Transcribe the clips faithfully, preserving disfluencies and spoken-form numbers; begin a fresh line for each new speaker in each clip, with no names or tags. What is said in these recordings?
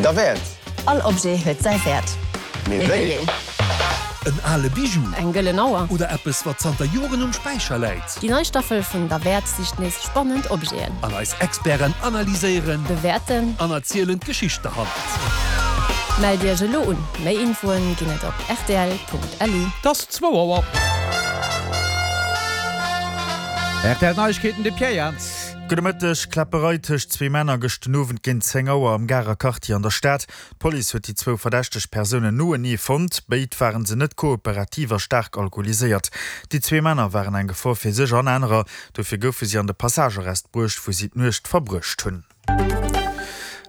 Derwäert.
All Objet huet säi Wäert.
Mee wéi een?
En ale Bijou.
Eng gëllen Auer.
Oder eppes, wat zanter Joren um Späicher läit.
Déi nei Staffel vun Derwäert sicht nees spannend Objeten.
An eis Experten analyséieren.
Bewäerten.
An erzielen d'Geschicht derhannert.
Mellt Iech elo un! Méi Infoen ginn et op rtl.lu.
Et ass zwou Auer. R T L Neiegkeeten, de Pierre Jans.
Gudde Mëtteg. Kläpperei tëscht zwee Männer gëscht den Owend géint zéng Auer am Garer Quartier an der Stad. D'Police huet déi zwou verdächteg Persounen noenee fonnt. Béid ware se net kooperativ a staark alkoholiséiert. Déi zwee Männer waren eng Gefor fir sech an anerer, dofir goufe si an de Passagearrest bruecht, wou si d'Nuecht verbruecht hunn.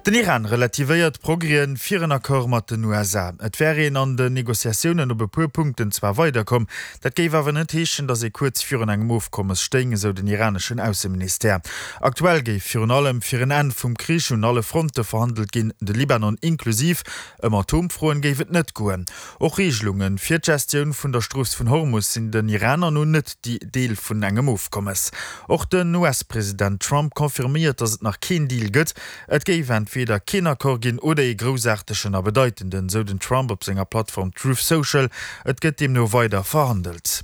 Den Iran relativéiert d'Progrèsen fir en Accord mat den U S A. Et wär een an den Negociatiounen op e puer Punkten zwar weiderkomm, dat géif awer net heeschen, datt ee kuerz virun engem Ofkommes stéing, esou den iraneschen Ausseministère. Aktuell géif virun allem fir en Enn vum Krich un alle Fronte verhandelt ginn, de Libanon inklusiv. Ëm Atomfroen géif et net goen. Och Reegelunge fir d'Gestioun vun der Strooss vun Hormus sinn den Iraner no net Deel vun engem Ofkommes. Och den U S-President Trump confirméiert, datt et nach keen Deal gëtt. Et géif entweder keen Accord ginn oder ee groussaartegen a bedeitenden, sou den Trump op senger Plattform Truth Social. Et gëtt deemno weider verhandelt.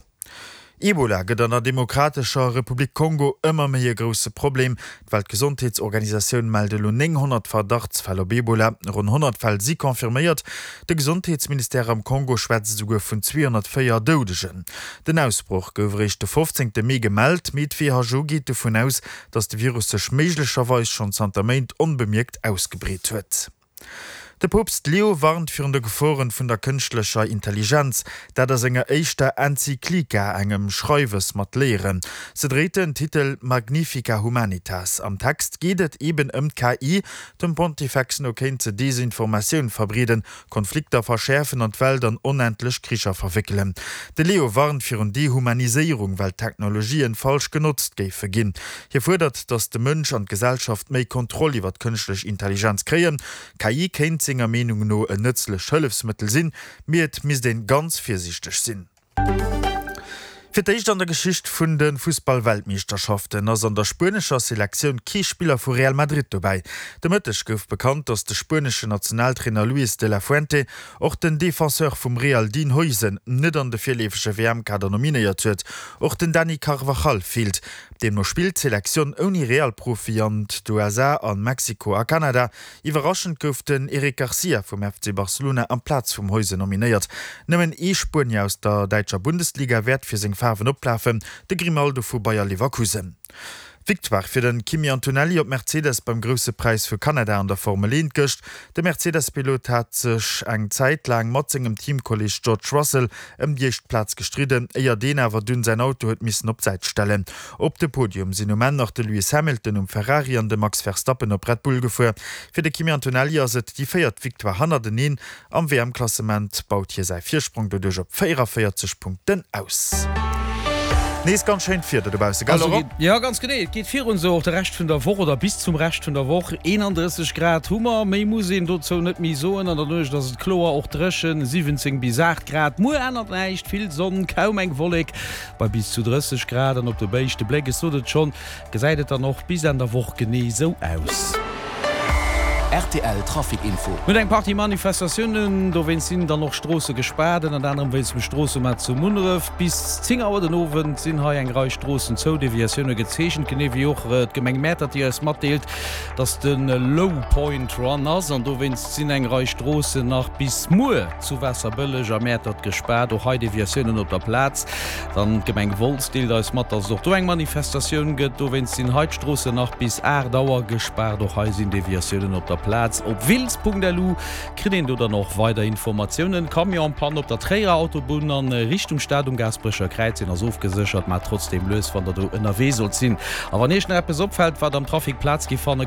Ebola gëtt an der Demokratescher Republik Kongo ëmmer méi e grousse Problem. D'Weltgesondheetsorganisatioun mellt elo nénghonnert Verdachtsfäll op Ebola, ronn honnert Fäll si confirméiert. De Gesondheetsministère am Kongo schwätzt esouguer vun zweehonnertvéier Doudegen. Den Ausbroch gouf eréischt de fofzéngte Mee gemellt, mee d'W H O geet dovun aus, datt de Virus sech méiglecherweis schonn zanter Méint onbemierkt ausgebreet huet. De Poopst Leo warnt virun de Geforen vun der kënschtlecher Intelligenz, dat a senger éischter Enzyklika, engem Schreiwes mat Léieren. Se dréit den Titel Magnifica Humanitas. Am Text geet et eben ëm d'K I. Dem Pontifex no kéint se Desinformatioun verbreeden, Konflikter verschäerfen an d'Welt an onendlech Kricher verwéckelen. De Leo warnt virun Dehumaniséierung, well d'Technologien falsch genotzt géife ginn. Hie fuerdert, datt de Mënsch an d'Gesellschaft méi Kontroll iwwer d'kënschtlech Intelligenz kréien. K I kéint senger Meenung no en nëtzlecht Hëllefsmëttel sinn, mee et misst ee ganz virsiichteg sinn. Fir d'éischt an der Geschicht vun de Fussball-Weltmeeschterschaften ass an der spuenescher Selektioun kee Spiller vu Real Madrid dobäi. De Mëtteg gouf bekannt, datt de spueneschen Nationaltrainer Luis de la Fuente och den Defenseur vum Real Dean Huijsen net an de virleefege W M-Kader nominéiert huet. Och den Dani Carvajal feelt. Deemno spillt d'Selektioun ouni Real-Profi an d'U S A an Mexiko a Kanada. Iwwerraschend gouf den Eric Garcia vum F C Barcelona amplaz vum Huijsen nominéiert. Nëmmen ee Spuenier aus der däitscher Bundesliga wäert fir seng Faarwen oplafen, de Grimaldo vu Bayer Leverkusen. Victoire fir den Kimi Antonelli op Mercedes beim Grousse Präis vu Kanada an der Formel eent gëscht. De Mercedes-Pilot hat sech eng Zäit laang mat sengem Teamkolleeg George Russell ëm déi éischt Plaz gestridden, éier deen awer dunn säin Auto huet missen op d'Säit stellen. Op de Podium sinn um Enn nach de Lewis Hamilton um Ferrari an de Max Verstappen op Red Bull gefuer. Fir de Kimi Antonelli ass et déi véiert Victoire hannerteneen. Am W M-Klassement baut hie säi Virsprong doduerch op véieranvéierzeg Punkten aus. Nees ganz schéint Wieder dobausse, gell Laurent?
Jo, ganz genee, et geet virun esou och de Rescht vun der Woch oder bis zum Rescht vun der Woch. eenandrësseg Grad hu mer, méi muss een dozou net méi soen. An der Nuecht ass et kloer, och dréchen, siwwenzéng bis aacht Grad. Muer ännert näischt, vill Sonn, kaum eng Wollek bei bis zu drësseg Grad. An op de éischte Bléck, ech sot et schonn, gesäit et dann och bis Enn der Woch genee esou aus.
R T L Trafic Info.
Mir hunn eng Partie Manifestatiounen, dowéinst sinn dann och Stroosse gespaart, ënnert anerem wéinst dem Stroossemaart zu Munneref. Bis zéng Auer den Owend sinn hei eng Rei Stroossen zou, Deviatioune gezeechent, genee wéi och d'Gemeng Mäertert, déi eis matdeelt, dass de Low Point Run ass an dowéinst sinn eng Rei Stroossen nach bis muer zu Waasserbëlleg a Mäertert gespaart. Och hei Deviatiounen op der Plaz. Dann d'Gemeng Wolz deelt eis mat, dass et och do eng Manifestatioun gëtt, dowéinst sinn hei d'Stroossen nach bis aacht Auer gespaart. Och hei sinn Deviatiounen op der Plaz. Op wiltz Punkt L U kritt een do dann och weider Informatiounen. Camion-Pann op der Tréierer Autobunn an Richtung Stad um Gaasperecher Kräiz, deen ass ofgeséchert, maacht trotzdeem lues wann der do ënnerwee sollt sinn. A wann iech nach eppes opfält wat am Trafic Plaz gi fanne